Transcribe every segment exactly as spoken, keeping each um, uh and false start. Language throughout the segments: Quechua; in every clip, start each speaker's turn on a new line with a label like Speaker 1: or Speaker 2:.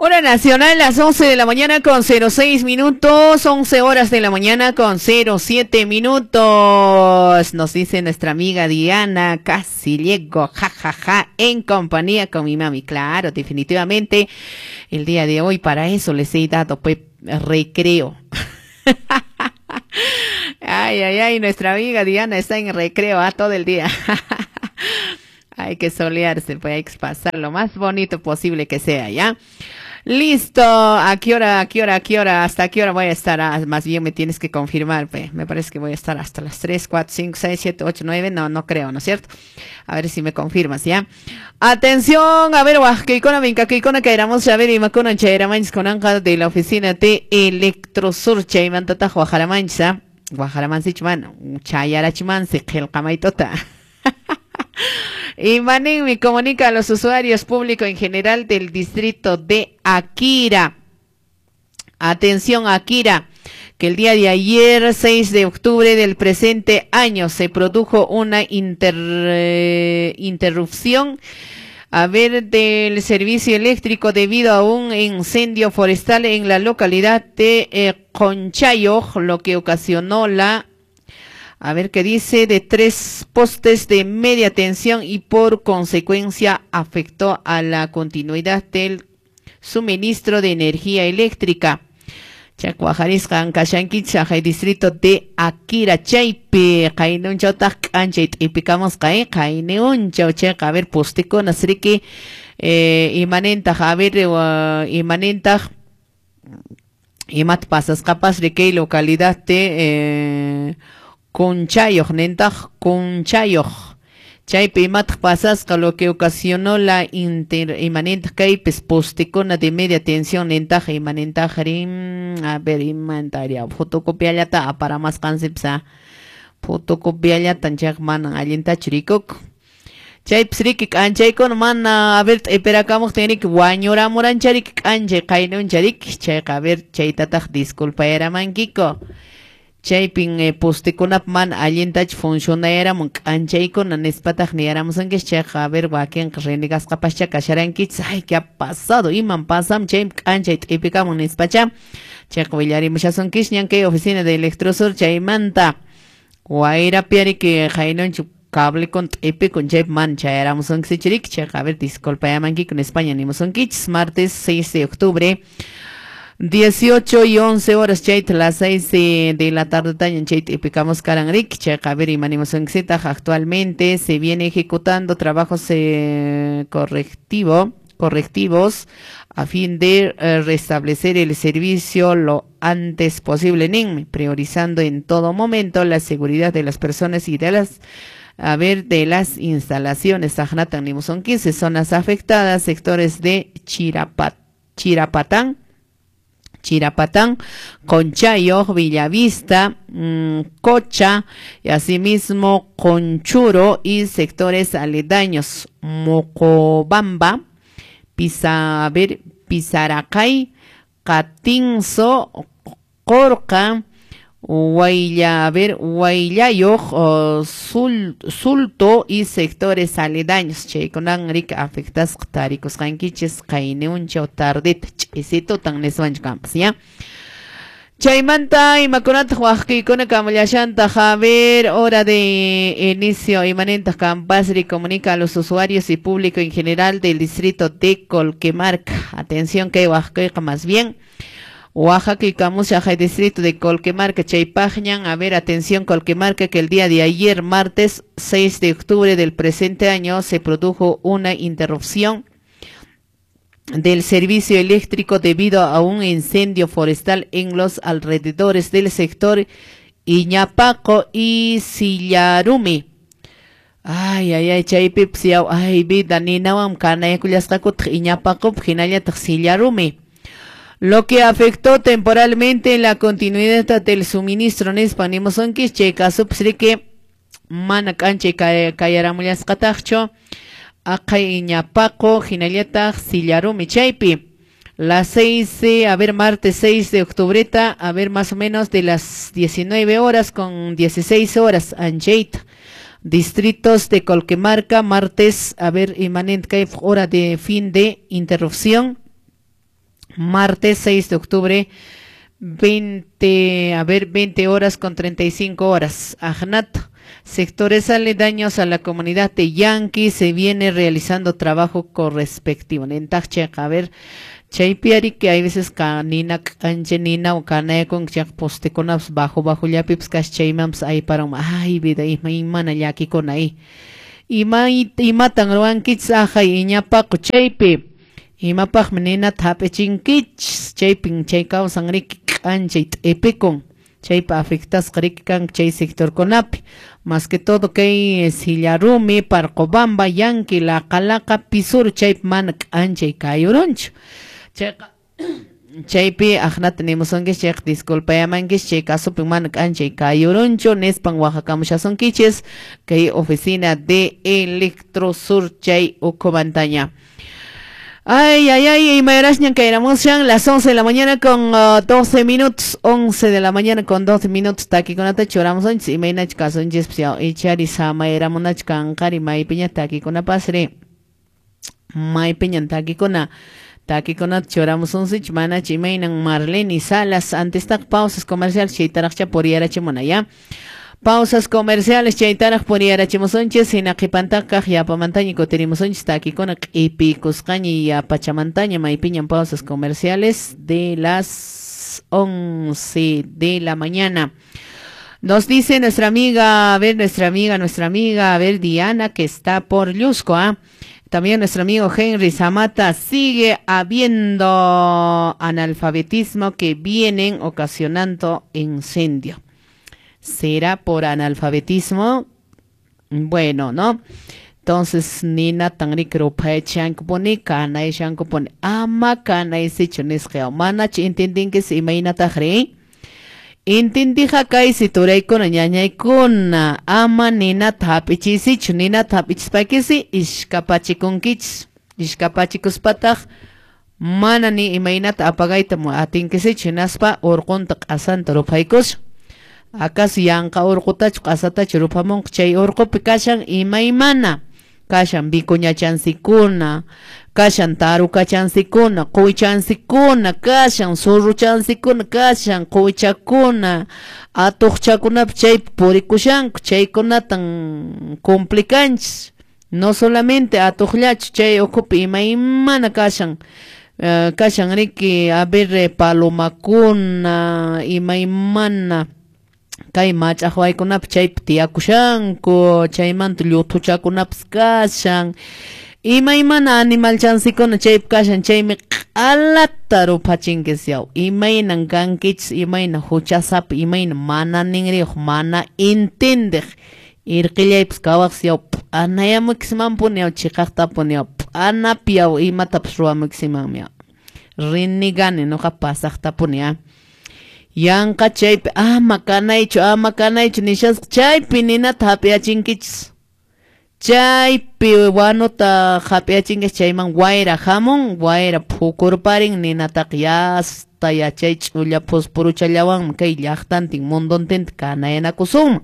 Speaker 1: Hora nacional, las once de la mañana con cero seis minutos, once horas de la mañana con cero siete minutos. Nos dice nuestra amiga Diana, casi llego, ja, ja, ja, en compañía con mi mami. Claro, definitivamente, el día de hoy para eso les he dado, pues, recreo. Ay, ay, ay, nuestra amiga Diana está en recreo, ¿ah? Todo el día. Hay que solearse, pues hay que pasar lo más bonito posible que sea, ¿ya? Listo, ¿a qué hora, a qué hora, a qué hora, hasta qué hora voy a estar? Ah, más bien me tienes que confirmar, pues. Me parece que voy a estar hasta las tres, cuatro, cinco, seis, siete, ocho, nueve, no, no creo, ¿no es cierto? A ver si me confirmas, ¿ya? Atención, a ver, huajquicona, vincaquicona, caeramos, a ver, imakuna, chairamanchis, conanja de la oficina de Electrosur, chaimantata, huajaramanchis, huajaramanchis, mano, chayarachimansi, qilqamaitota. Y Manín me comunica a los usuarios públicos en general del distrito de Akira. Atención, Akira, que el día de ayer, seis de octubre del presente año, se produjo una inter, eh, interrupción, a ver, del servicio eléctrico debido a un incendio forestal en la localidad de eh, Conchayo, lo que ocasionó la, a ver qué dice, de tres postes de media tensión y por consecuencia afectó a la continuidad del suministro de energía eléctrica. Chacuajarisqa ankashankichis hay distrito de Akira chaypi qaynunchawtaq k'anchay t'ipikamusqa eh qayniunchaw chayqa a ver postikunas riki eh, imanintaq a ver uh, imanintaq imata pasasqapas riki localidad de eh, Conchayoq nintaq Conchayoq chaypi imataq pasasqa lo que ocasionó la inter imanintaq kaypis postikuna de media tensión nintaq imanintaq rin a ver imantaria fotocopiallata aparamasqansipis fotocopiallatan chayqa manan allintachu rikuk chaypis riki k'anchaykuna mana a ver t'ipirakamuqtin riki wañuramurancha riki k'anchay qaynuncha riki chayqa a ver chaytataq disculpayaramankiku. Chaypin eh, postekunap mana allintachu funcionayaramun k'anchaykuna nispataq niyaramusunkichis chayqa a ver wakinqa renegasqapascha kasharankichis ay qué ha pasado iman pasam chaymi k'anchay t'ipikamun nispacha chayqa willarimushasunkichis ñan kay oficina de Electrosur chaymanta wayrapi riki qaynunchu cable con t'ipikun chaypi mana chayaramusunkichis riki chayqa a ver disculpayamankikun nispaña nimusunkichis martes seis de octubre dieciocho y once horas chayta las seis de la tarde tañan chayta ipicamos karanrik chayqa a ver imanimusunkichis actualmente se viene ejecutando trabajos eh, correctivo correctivos a fin de eh, restablecer el servicio lo antes posible nin priorizando en todo momento la seguridad de las personas y de las a ver de las instalaciones Sajnatan nimusunkichis zonas afectadas sectores de Chirapat, Chirapatán Chirapatán, Conchayo, Villavista, mmm, Cocha, y asimismo Conchuro y sectores aledaños, Mocobamba, Pisa, a ver, Pisaracay, Catinzo, Corca, Huayla, a ver, Huaylayo, oh, Sul, Sulto y sectores aledaños. Chaykunan rika afectasqa tarikusqankichis qayniunchaw tardeta ch'isitutan niswanchik kampas, ya. Chaymanta imakunataq waqkiykuna kamallashantaq a ver, hora de inicio imanintaq Campasri comunica a los usuarios y público en general del distrito de Colquemarca. Atención que waqkiyqa más bien Oaxaca y Camusa, distrito de Colquemarca, Chaypajñan. A ver, atención Colquemarca, que el día de ayer, martes seis de octubre del presente año, se produjo una interrupción del servicio eléctrico debido a un incendio forestal en los alrededores del sector Iñapaco y Sillarumi. Ay, ay, ay, chaypipis yaw, ay, vida, ninawam kanayakullasqakutaq Iñapaco, hinallataq Sillarumi. Lo que afectó temporalmente la continuidad del suministro nispa nimusunkichis chay kasupis riki mana k'anchay kayaramullasqataqchu aqhay Iñapaco hinallataq Sillarumi chaypi. Las seis, a ver, martes seis de octubreta, a ver, más o menos de las diecinueve horas con dieciséis horas, anchayta. Distritos de Colquemarca, martes, a ver, imanent kay hora de fin de interrupción. Martes seis de octubre, veinte, a ver, veinte horas con treinta y cinco horas. Ajnat, sectores aledaños a la comunidad de Yanqui se viene realizando trabajo correspectivo. Nentachek, a ver, chaypiari que hay veces kanina kanche nina o kanayakun chaq postekunapas bajo bajo llapipas kas chaymanpas ayparan. Ay vida, ima imana llakikuna ahí. Ima imatan ruwankichis ajay iñapaqu chaypi. Imapaqmi ninata hap'ichinkichis chaypin chay kawsan riki k'anchay t'ipikun. Chaypa afectasqa riki kan chay sectorkunapi. Más que todo kay Sillarumi, Parqobamba, Yanqui, Laqalaqa, Pisuro chaypi mana k'anchay kayurunchu. Chayqa chaypi aqnata nimusunkichis chayqa disculpayamankichis chay kasupi mana k'anchay kayurunchu nispan waqakamushasunkichis kay oficina de Electrosur chay ukhumantaña. Ay, ay, ay, imayrasñan kayramushan las once de la mañana con uh, doce minutos, once de la mañana con doce minutos, takikunata churamusunchis, imaynach kasunchis, ichari samayramunach kanqari maypiña takikunapasri, maypiñan takikuna, takikunata churamusunchis, manach imaynan Marlene Salas, antes tak pausas comerciales, chaytaraqcha puriyarachimuna, ya. Pausas comerciales chaytaraq puriyarachimusunchis, hina qhipantakaq yapamantaña kutirimusunchis takikuna q'ipikusqaña yapachamantaña maypiñan pausas comerciales de las once de la mañana. Nos dice nuestra amiga, a ver, nuestra amiga, nuestra amiga, a ver, Diana, que está por Llusco, ¿ah? También nuestro amigo Henry Zamata, sigue habiendo analfabetismo que vienen ocasionando incendio. ¿Será por analfabetismo? Bueno, ¿no? Entonces, nina tanri ruphaichanku kanayshanku puni ama kanaysichu nisqa manach entendinkiz imaynataqri? Intindija kaysi turaykuna ñañaykuna ama ninata hap'ichisichu ninata hap'ichispaykisi ishkapachikunkichis ishkapachikuspataq mana ni imaynata apagayta atinkisichu hinaspa urqunta q'asanta ruphaykusha. Acaso yanqa urqutachu q'asatachu ruphamunqa chay urqupi kashan imaymana kashan vicuñachansikuna kashan tarucachansikuna quychansikuna kashan surruchansikuna kashan quychakuna atuqchakunapi chaypi purikushanku chaykunatan complicanchis no solamente atuqllachu chay ukhupi imaymana kashan uh, kashan riki a ver palomakuna imaymana kay mach'aqwaykunapi chaypi tiyakushanku chaymanta lluthuchakunapas kashan imaymana animalchansikuna chaypi kashan chaymi q'alata ruphachinkis yaw imaynan kankichis imayna huchasapa imayna mana ninriyuq mana intindiq irqillaypas kawaqsi yaw p'anayamukismanpuni yaw chiqaqtapuni yaw p'anapi yaw imatapas ruwamukisimanmi yaw rinigani nuqa pasaqtapuni ya. Yanqa chaypi ama kanaychu ama kanaychu nishasqa chaypi ninata hap'iyachinkichis chaypi wanuta hap'iyachinkichis chayman wayra hamun wayra phukurparin ninataqa yasta yachay ch'ulla phusphuruchallawanmi kay llaqtantin mundontinta kanayanakusunman.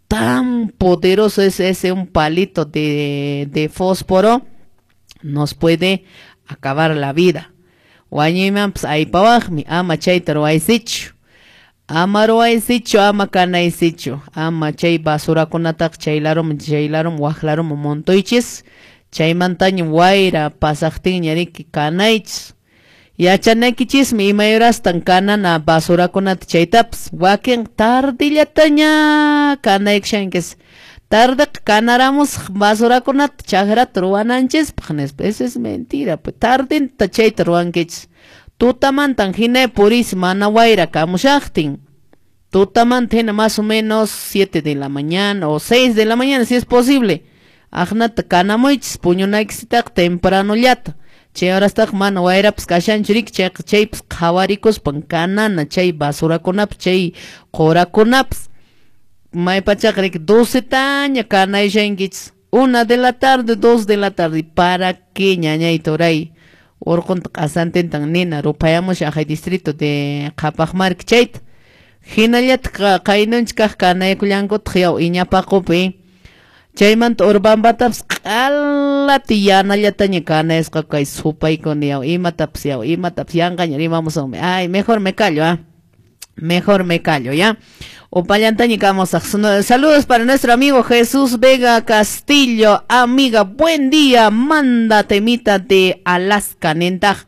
Speaker 1: Tan poderoso es ese un palito de, de fósforo nos puede acabar la vida. Wañuymanpas aypawaqmi ama chayta ruwaysichu ama ruwaysichu ama kanaysichu ama chay basurakunataqa chay laruman chay laruman waq laruman montuychis chaymantaña wayra pasaqtinña riki kanaychis yachanaykichismi imayrastan kanana basurakunata chaytapas wakin tardillataña kanaykushankis tardeqa kanaramusaq basurakunata chakrata ruwananchispaq nispa eso es mentira pues tardinta chayta ruwankichis tutamantan hina puriysi mana wayra kamushaqtin tutamanta hina más o menos siete de la mañana o seis de la mañana si es posible aqnata kanamuychis puñunaykisitaqa tempranollata chay horastaqa mana wayrapas kashanchu riki chayqa chaypas qhawarikuspan kanana chay basurakunapas chay qurakunapas maypachaqa riki docetaña kanayshankichis una de la tarde dos de la tarde para qué ñañay turay urqunta q'asantintan nina ruphayamushan aqhay distrito de Qhapaqmarka chayta hinallataq qaynunchik kaq kanaykullankutaq yaw iñapaqupi Chaymanta Urubambatapas q'alati yanallataña kanayasqa kay supaykuna yaw imatapas yaw imatapas yanqaña rimamusunmi. Ay, mejor me callo, ah. Mejor me callo, ¿ya? Upallantaña kamusaq. Saludos para nuestro amigo Jesús Vega Castillo. Amiga, buen día. Manda temita de Alaska, nintaj.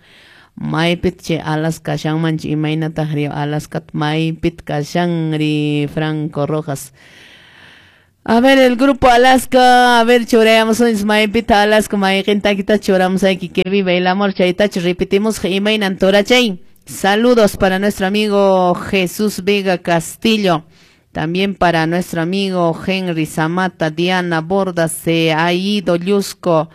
Speaker 1: Maypit che Alaska shanmanchi imaynataq ri Alaska maypit kashanri Franco Rojas. A ver, el grupo Alaska, a ver, churayamos maypita Alaska, mayqintakita churamos aquí que vive el amor, chaytachu repetimos imaynan torachay. Saludos para nuestro amigo Jesús Vega Castillo, también para nuestro amigo Henry Zamata, Diana Borda, se ha ido Llusco,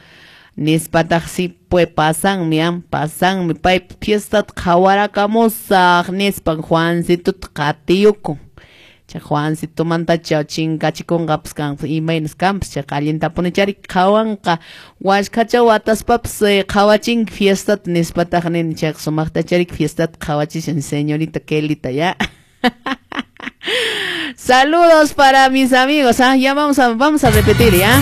Speaker 1: nispataq si pues pasanmi, pasanmi, pay fiesta qhawarakamusaq, nispan Juancito qatiyukun. Juancito mantacha chinkachikunqapas kanpas imaynas kanpas chayqa allintapuni chari qhawanqa washkhacha wataspapas qhawachinki fiestata nispataq nini chayqa sumaqta chari fiestata qhawachishan señorita Kelita ya. Saludos para mis amigos, ¿ah? Ya vamos a, vamos a repetir, ¿ya?